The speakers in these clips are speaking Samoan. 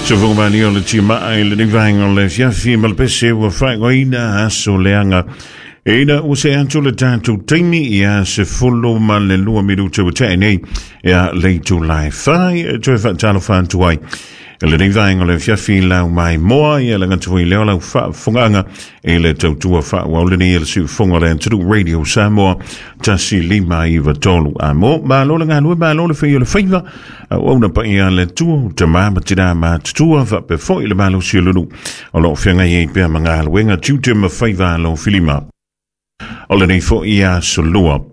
Sofoga o le timaa i lenei vaega o le afiafi ma le pese ua faaigoaina aso leaga. Ina ua se atu le tatou taimi ia 12 ua tea nei ia le itula e 4 e toe faatalofa atu ai. Lenei vaega o le afiafi lau mai moa ia le gata foi lea o lau faafofogaaga i le tautua faaauau lenei e le siufofoga o le atunuu Radio Samoa 1.593. A mo, malo le galue, malo le fai o le faiva, auauna paia a le Atua, o tama ma tina matutua, faapea foi le malosi o le nuu o lo o feagai ai pea ma galuega tiute ma faiva alofilima. O lenei foi aso lua,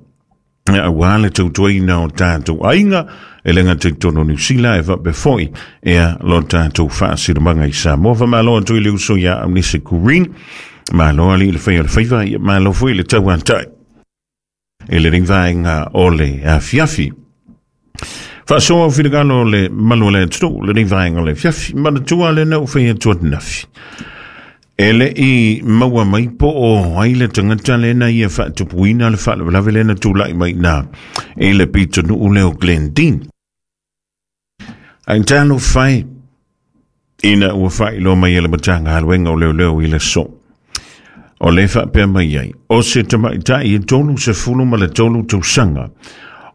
aua le tautuaina o tatou aiga, e le gata i totonu o Niu Sila, e faapea foi ia lo tatou faasinomaga i Samoa. Faamalo atu i le uso ia Aunese Green, malo alii le fai o le faiva, ia malo foi le tauatai i lenei vaega o le afiafi. Faasoa o finagalo o le malu o le atunuu lenei vaega o le afiafi, manatua lena ua fai atu ananafi. E le i maua mai po o ai le tagata lena ia faatupuina le faalavelave lena tulai mai i ina i le pitonuu lea o Glendene. Ae talofa e, ina ua faailoa mai e le Matagaluega o Leoleo i le aso. O le faapea mai ai, o se tamaitai e 33 tausaga,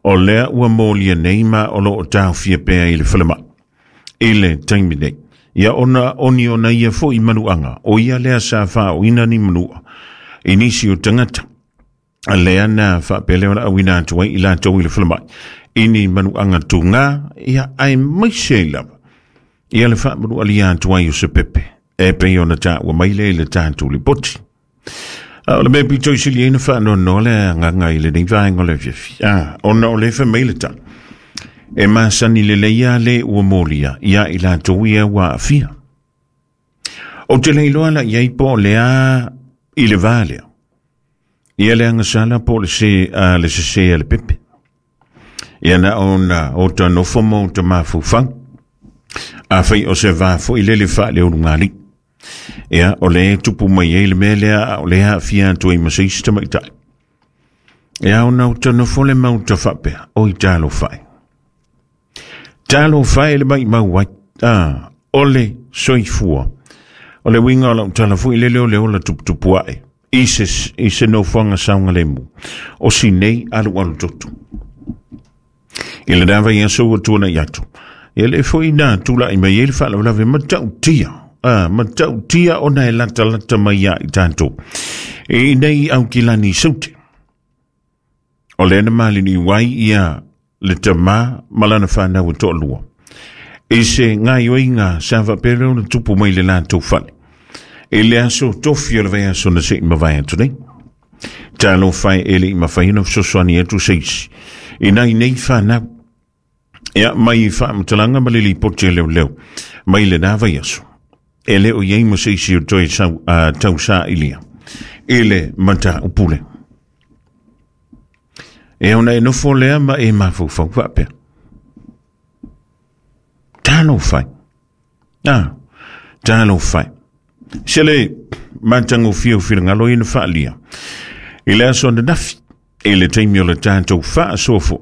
o lea ua molia nei ma o lo o taofia pea i le falemai i le taimi nei. Ia ona oni ona ia foi manuaga, o ia lea sa faaoina ni manua i nisi o tagata. Lea na faapea lea ona auina atu ai i latou i le falemai i ni manuaga tugā, ia aemaise ai lava ia le faamanualia atu ai o se pepe e pei ona taua mai lea i le tatou lipoti. A o le mea pito i sili ai na faanoanoa le agaga i lenei vaega o le afiafi. Ona o le fai mai le tala, e masani lelei lava le ua molia ia i latou ia ua aafia. Ou te le iloa la i ai po o lea i le va lea. Ia le agasala po o le se, le sese a le pepe. Ia na ona o ta nofo ma o ta mafaufau. Afai o se va foi lele faaleulugalii. Ia, o le tupu mai ai le mea lea, a o le aafia atu ai ma se isi tamaitai. Ia, ona o ta nofo le mau ta faapea, oi talofa e. Talofa e le maimau ai. O le soifua. O le uiga o lau tala foi lele o le ola tuputupu ae i se nofoaga saogalemu o si nei alualu toto. I lena vaiaso ua tuanai atu, ia le foi na tulai mai ai le faalavelave matautia, matautia ona e latalata mai ia i tatou i nei Aukilani i Saute. O lea na maliliu ai ia le tama ma lana whanau e toalua. I se gaioiga sa faapea lea ona tupu mai le latou fale. I le aso tofi o le vaiaso na se i mavae atu nei. Talofa e le i mafai ona fesoasoani atu se isi i nai nei whanau. Ia mai faamatalaga ma le lipoti a leoleo mai lena vaiaso. E le o i ai ma se isi o toe tausailia i le mataupu lea. E ona e nofo lea ma e mafaufau faapea. Talofa e. Talofa e. Se le matagofie o finagalo ia na faaalia i le aso ananafi i le taimi o le tatou faasoa foi.